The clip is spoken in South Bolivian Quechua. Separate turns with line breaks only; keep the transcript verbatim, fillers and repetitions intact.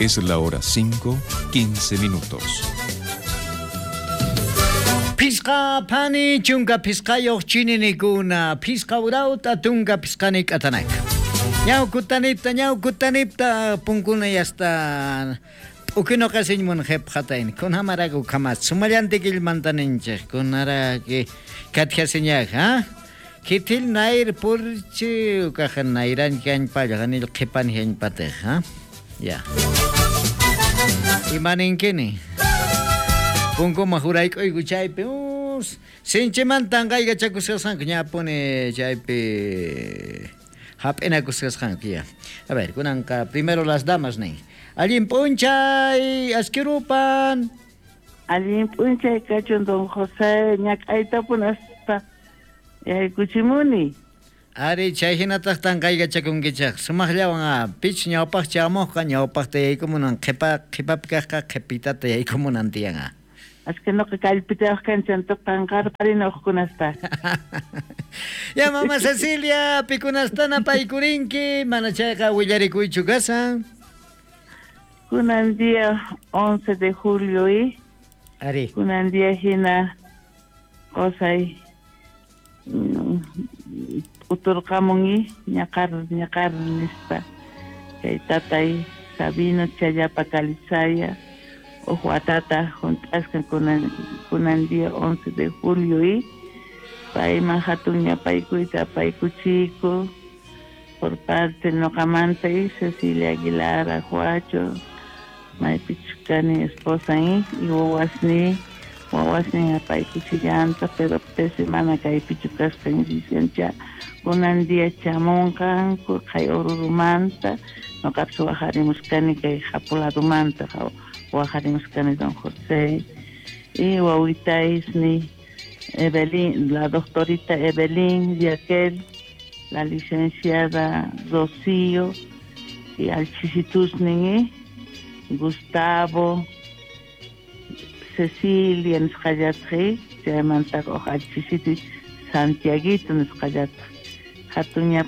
Es la hora cinco, quince minutos.
Phisqa phani chunka phisqayuq chininikuna, phisqa urawta tunka phisqani k'atanaka. Ñawkutanipta, ñawkutanipta punkuna yasta p'ukino qasiñmun qhepqatayn. Kunamaraku kamas sumallantikillmanta ninchik, kunaraki katjasiñaq, ha? Kitil nair purchi ukaja nairan kanpalla ganil qhipan hiñpatej, ha? Ya. Imaninkini? Punkuma jurayk'uyku chaypi, us, sinchimantan qaykachakusqasqanku ñapuni chaypi hap'inakusqasqanku, ya. A ver, kunanqa primero las damas nin. Allin p'unchay, askirupan.
Allin p'unchay kachun don José, ñak'aytapunaspa yaykuchimuni.
Ari, chay hinataq tanqaykachakunkichaq. Sumaqllawan a pich ñawpaq chamuqqa ñawpaqta yaykumunan, qhipa qhipapi kaqqa qhipitata yaykumunan tiyan a.
Aske noqa kallpitayuq kanchantoq tanqarparina uqkunasta.
Ya mama Cecilia, pikunastana paykurinki, mana chayqa willarikuychu kasan.
Kunan día once de julio y
Ari.
Kunan día hina qosay uturqamun ñaqar ñaqar nispa chay tatay Sabino Challapa Calizaya uj watata junt'asqa kunan kunan día once de julio y payman hatun ñapaykuyta apaykuchiku por parte noqamanta y Cecilia Aguilar Ajuacho maypichus kani esposa y wawasni wawasnin apaykuchillanta pero pese mana kaypichu kasqan licencia kunan día chamunqanku kay Orurumanta noqapis waqarimuskani kay Japuladumanta waqarimuskani don José y wawitaysni Evelyn, la doctorita Evelyn Yaquel, la licenciada Rocío y alchisitusnin Gustavo, Cecilia nisqallatqi, chaymanta uj alchisituy Santiaguito nisqallataq. Hatun